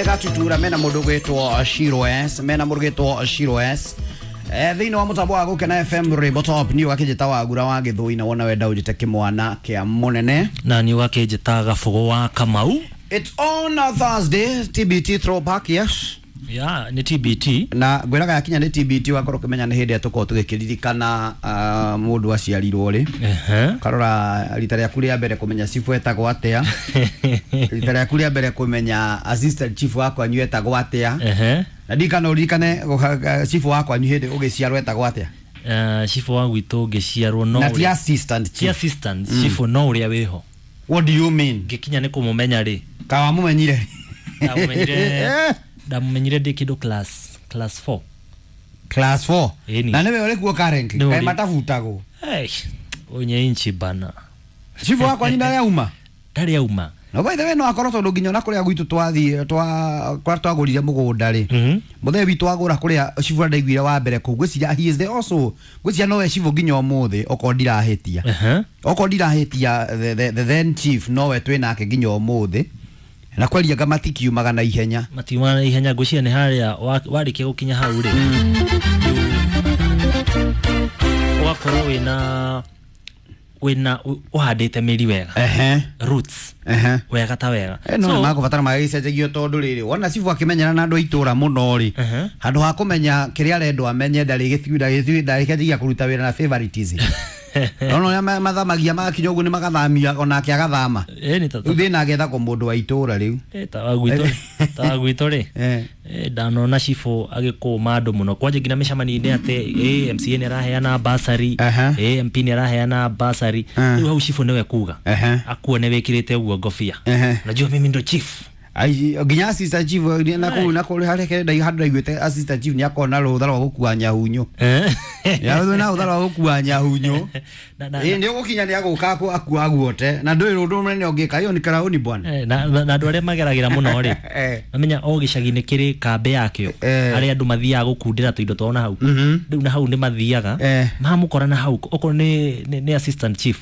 Gatutura mena mundu gwitwo Shiro S, mena mundu gwitwo Shiro S. Thiini wa mutambo wa Gukena FM Rainbow Top ni wakijita wagura wa githui na wona wenda ujite kimwana kia munene na ni wakijita gabugo wa Kamau. It's on a Thursday, TBT throwback, yes. Yeah, ni TBT. Na ngwiraga yakinya ni TBT wakorwo ukimenya ni hindi tukorwo tugikiririkana mundu aciarirwo ri. Karora rita riaku ria mbere kumenya chifu etagwo atia. Rita riaku ria mbere kumenya assistant chief wakwa nyu etagwo atia. Na ndikana uririkane chifu wakwa nyu hindi ugiciarwo etagwo atia. Chifu wa gwitu ngiciarwo no na ti assistant chief. Ti assistant chifu no uria wiho. What do you mean? Ngikinya ni kumumenya ri. Kawa mumenyire. Ndamumenyire. Ndamumenyire ndi kindu class 4. Class 4. Na niwe uri kuo currently. Kai matafutagwo. Hey, onye inchi bana. Chifu wakwa ni ndari auma. Ndari auma. No by the way no akorwo tondu nginya na kuria gwitu twathie twa kwa twagurire mugunda ri. Muthe witu agura kuria chifu ndaiguire wa mbere kuu ngwiciria he is the also ngwiciria nowe chifu nginya umuthi okorwo ndirahitia. Okorwo ndirahitia the then chief nowe twi nake nginya umuthi. Na kwaria nga matikiumaga na ihenya. Matiumaga na ihenya ngwiciria ni haria warikia gukinya hau ri. Ugakorwo wina uhandite mĩri wega. Roots. Wega ta wega. No nĩ makubatara magĩcenjagio tondu rĩrĩ wona cibu akĩmenyana na andũ a itũra mũno rĩ handũ ha kũmenya kĩrĩa arendwo amenye ndarĩ ndarĩkĩanjagia kũruta wĩra na favoritism. No no mathamagia magakinya ũguo nĩ magathamia onake agathama. Rĩu thĩna agethagwo mũndũ wa itũra rĩu. Ta wa gwitũ rĩ ndanona cibu agĩkũma andũ mũno kwanja nginya mĩcemanio-inĩ atĩ MCA nĩ araheana bursary, MP nĩ araheana bursary. Rĩu hau cibu nĩwe kuga akuone wĩkĩrĩte ũguo ngobia, unajua mimi ndo chief. Ai nginya assistant chief na kuu na kuu harĩa kenda handũ ndaiguĩte assistant chief nĩ akorwo na rũtha rwa gũkua nyahunyo. Ya na rũtha rwa gũkua nyahunyo. Nĩ ũgũkinya nĩ agũka akua guote na ndũĩ ũndũ mũnene ũngĩka hiyo ni karaoni bwana. Na andũ arĩa mageragĩra mũno rĩ mamenya o gĩcagi-inĩ kĩrĩ kambĩ yakĩo arĩa andũ mathiaga gũkundĩra tũindo twao na hau rĩu na hau nĩ mathiaga mamũkora na hau okorwo nĩ assistant chief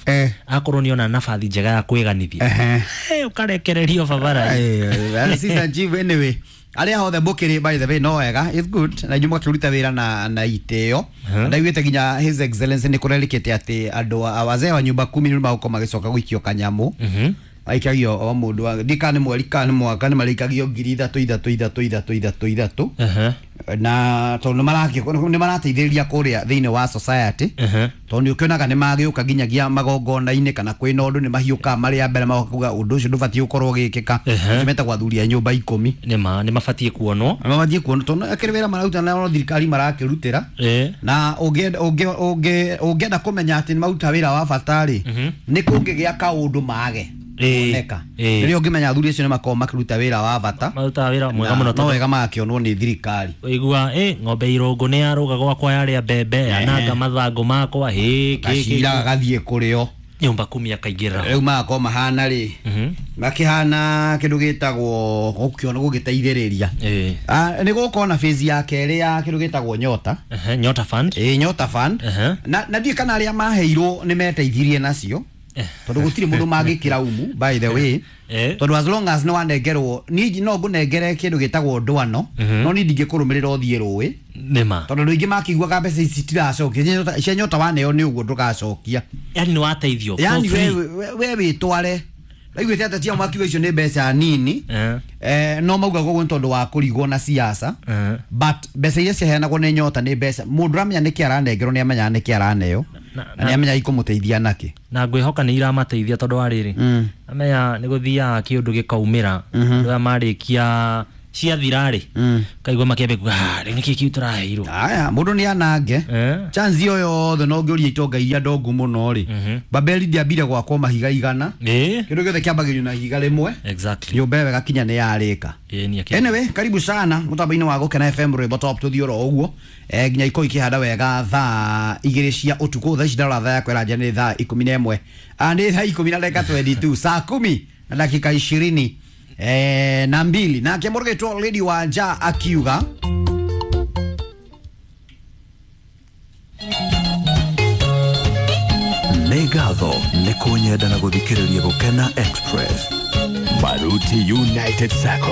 akorwo nĩ ona nabathi njega ya kwĩganithia ũkarekererio babara. Assistant chief anyway aria hothe mbukiri by the way no wega, it's good na inyuĩ mũgakĩruta wĩra na itĩo. Ndaiguĩte nginya His Excellency nĩ kũrerĩkĩte atĩ andũ wazee wa nyumba kumi nĩ magũkorwo magĩcoka gũikio kanyamũ aikagio o mũndũ ndika nĩ mweri kana nĩ mwaka nĩ marĩikagio 3 3 3 3 3 3 3 na tondũ nĩ marateithĩrĩria kũrĩa thĩinĩ wa society tondũ nĩ ũkĩonaga nĩ magĩũka nginyagia magongona-inĩ kana kwĩna ũndũ nĩ mahiũkaga marĩ a mbere magoka ũndũ ũcio ndũbatiĩ gũkorwo ũgĩkĩka. Ũcio metagwo athuri a nyũmba 10 nĩ mabatiĩ kuonwo, nĩ mabatiĩ kuonwo tondũ akĩrĩ wĩra mararuta na thirikari marakĩrutĩra na ũngĩenda kũmenya atĩ nĩ maruta wĩra wa bata rĩ nĩ kũngĩgĩa kaũndũ mage kuoneka rĩrĩa ũngĩmenya athuri acio nĩ makoragwo makĩruta wĩra wa bata, marutaga wĩra mwega mũno no wega magakĩonwo nĩ thirikari. Ũigua ng'ombe irũngũ nĩ yarũga gwakwa yarĩa mbembe yananga mathangũ makwa gacira gagathiĩ kũrĩo nyũmba kumi akaingĩra rĩu magakorwo mahana rĩ makĩhana kĩndũ gĩtagwo gũkĩona gũgĩteithĩrĩria. Nĩ gũkorwo na phase ya kerĩ ya kĩndũ gĩtagwo Nyota. Nyota Fund. Nyota Fund. Na ndiũĩ kana arĩa maheirwo nĩ meteithirie nacio tondũ gũtirĩ mũndũ mangĩkĩra umu by the way tondũ as long as nĩ wanengerwo niĩ no ngũnengere kĩndũ gĩtagwo ndwano no niĩ ndingĩkũrũmĩrĩra ũthiĩ rũĩ nĩma tondũ andũ aingĩ makĩiguaga mbeca ici citiracokia cia Nyota waneo nĩ ũguo ndũgacokia, yani nĩ wateithio, yani we wĩtware. Ndaiguĩte ateti ao makiuga icio nĩ mbeca nini no maugaga ũguo nĩ tondũ wa kũrigwo na siasa but mbeca iria ciaheanagwo nĩ Nyota nĩ mbeca mũndũ ũramenya nĩkĩ aranengerwo nĩ amenyaga nĩkĩ araneo na nĩ amenyaga ikũmũteithia nakĩ na ngwĩhoka nĩ iramateithia tondũ wa rĩrĩ amenya nĩ gũthiaga kĩũndũ gĩkaumĩra andũ aya marĩkia ciathira rĩ kaigua makĩambia kuga rĩu nĩkĩ kĩu tũraheirwo. Aya mũndũ nĩ anange chance ĩyo yothe no ngĩũria itonga iria ndongu mũno rĩ Babeli ndĩambire gwakwo mahiga 100 kĩndũ gĩothe kĩambagĩrio na ihiga rĩmwe nyũmba ĩyo ĩgakinya nĩ yarĩka. Anyway, karibu sana mũtambo-inĩ wa Gukena FM Rainbow Top tũthiĩ oro ũguo nginya ikorwo ikĩhanda wega thaa 2 cia ũtukũ. Thaa ici ndarora thaa yakwa ĩranjia nĩ thaa 11 nĩ thaa 10:22 saa 10:22 na mbili nake mũrũgĩtwo Lady Wanja akiuga nĩ ngatho nĩ kũnyenda na gũthikĩrĩria Gukena Express. Maruti United Sacco.